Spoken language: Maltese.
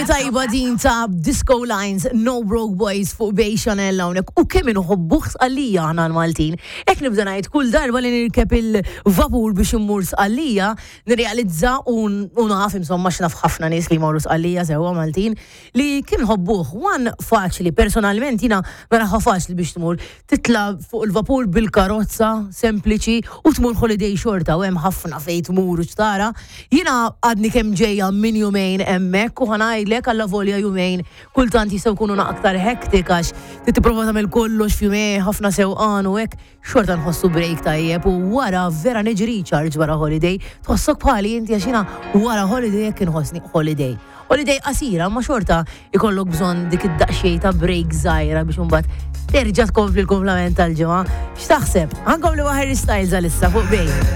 Kemm tajba din ta' Disco Lines, No Broke Boys fuq Bay Chanel hawnhekk u kemm inħobbuh Sqallija aħna l-Maltin. Hekk nibda ngħid kull darba li nirkeb il-vapur biex immur Sqallija, nirrealizza u naf insomma x'naf ħafna nies li jmorru Sqallija sewwa Maltin li kemm nħobbuh. One faċli, personalment jiena naraha faċli biex tmur. Titla' fuq il-vapur bil-karozza sempliċi u tmur holiday xorta u hemm ħafna fejn tmur u x'tara. Jiena għadni kemm ġejja minn jumejn hemmhekk u ħa ngħidlek allavolja jumejn kultant jistgħu jkunu aktar hectic għax trid tipprova tagħmel kollox f'jumejn ħafna sewqan u hekk, xorta nħossu break tajjeb u wara vera niġi recharge wara holiday. Tħossok bħali inti għax jiena wara holiday hekk inħossni holiday. Holiday qasira, ma xorta ikollok bżonn dik id-daqsxejn ta' break żgħira biex imbagħad terġa' tkompli l-kumplament tal-ġimgħa. X'taħseb? Ħankompli ma' Harry Styles għalissa fuq Bay.